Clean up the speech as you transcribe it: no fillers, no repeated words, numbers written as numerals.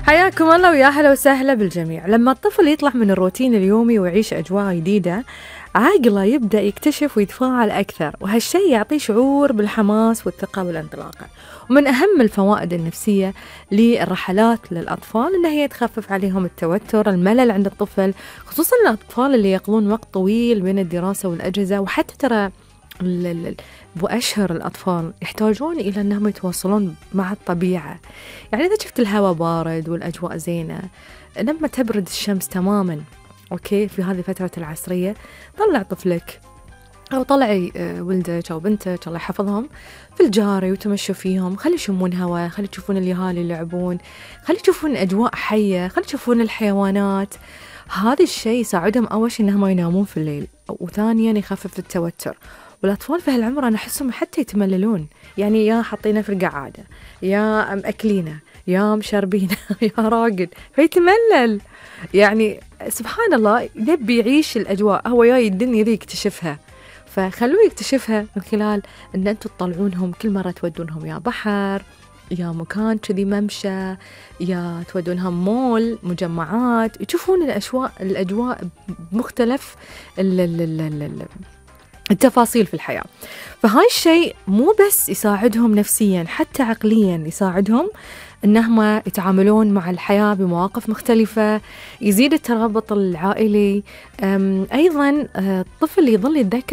حياكم الله ويا هلا وسهلا بالجميع. لما الطفل يطلع من الروتين اليومي ويعيش أجواء جديدة، عقله يبدأ يكتشف ويتفاعل أكثر، وهالشي يعطيه شعور بالحماس والثقة والانطلاقة. ومن أهم الفوائد النفسية للرحلات للأطفال إنها هي تخفف عليهم التوتر، الملل عند الطفل، خصوصا الأطفال اللي يقضون وقت طويل بين الدراسة والأجهزة. وحتى ترى بأشهر الأطفال يحتاجون إلى أنهم يتواصلون مع الطبيعة. يعني إذا شفت الهواء بارد والأجواء زينة، لما تبرد الشمس تماما أوكي في هذه فترة العصرية، طلع طفلك أو طلعي ولدك أو بنتك الله يحفظهم في الجاري وتمشوا فيهم، خلي يشمون هواء، خلي تشوفون اليهال يلعبون، خلي تشوفون أجواء حية، خلي تشوفون الحيوانات. هذا الشيء يساعدهم أول شيء إنهم ما ينامون في الليل، وثانيا يخفف التوتر. والأطفال في هالعمر أنا أحسهم حتى يتمللون، يعني يا حاطينه في القعادة، يا مأكلينه، يا مشربينه، يا راقد، فيتملل. يعني سبحان الله يبي يعيش الأجواء، هو جاي الدنيا ذي يكتشفها، فخلوه يكتشفها من خلال أن أنتوا تطلعونهم كل مرة تودونهم يا بحر، يا مكان كذي ممشى، يا تودونهم مول، مجمعات، يشوفون الأجواء بمختلف التفاصيل في الحياة. فهاي الشيء مو بس يساعدهم نفسيا، حتى عقليا يساعدهم أنهم يتعاملون مع الحياة بمواقف مختلفة، يزيد الترابط العائلي. أيضا الطفل يظل يتذكر